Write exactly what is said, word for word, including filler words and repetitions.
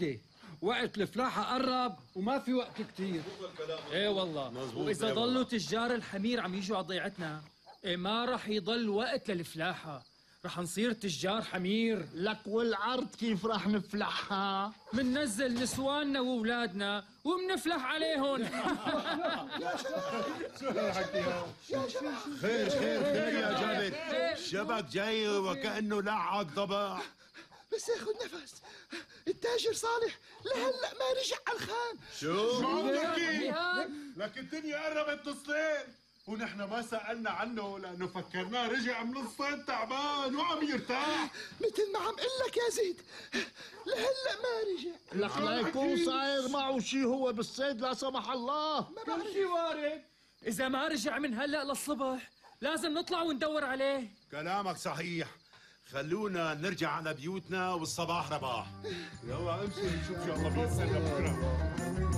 سيدي، وقت الفلاحة قرب وما في وقت كتير. ايه والله، واذا ضلوا تجار الحمير عم يجوا على ضيعتنا، ايه ما رح يضل وقت للفلاحة، رح نصير تجار حمير. لك والعرض كيف رح نفلحها؟ مننزل نسواننا وولادنا ومنفلح عليهم. خير خير خير يا جابر، الشبك جاي وكأنه لعق ضبع. بس ياخد نفس، التاجر صالح لهلا ما رجع على الخان. شو؟ شو بدك؟ لك الدنيا قربت تصلين ونحن ما سألنا عنه لأنه فكرناه رجع من الصيد تعبان وعم يرتاح. مثل ما عم قل لك يا زيد، لهلا ما رجع. لك لا يكون صاير معه شي هو بالصيد لا سمح الله. ما بعرف شي وارد. إذا ما رجع من هلأ للصبح لازم نطلع وندور عليه. كلامك صحيح، خلونا نرجع على بيوتنا والصباح رباح. يلا امشي نشوف شو الله بيصير بكره.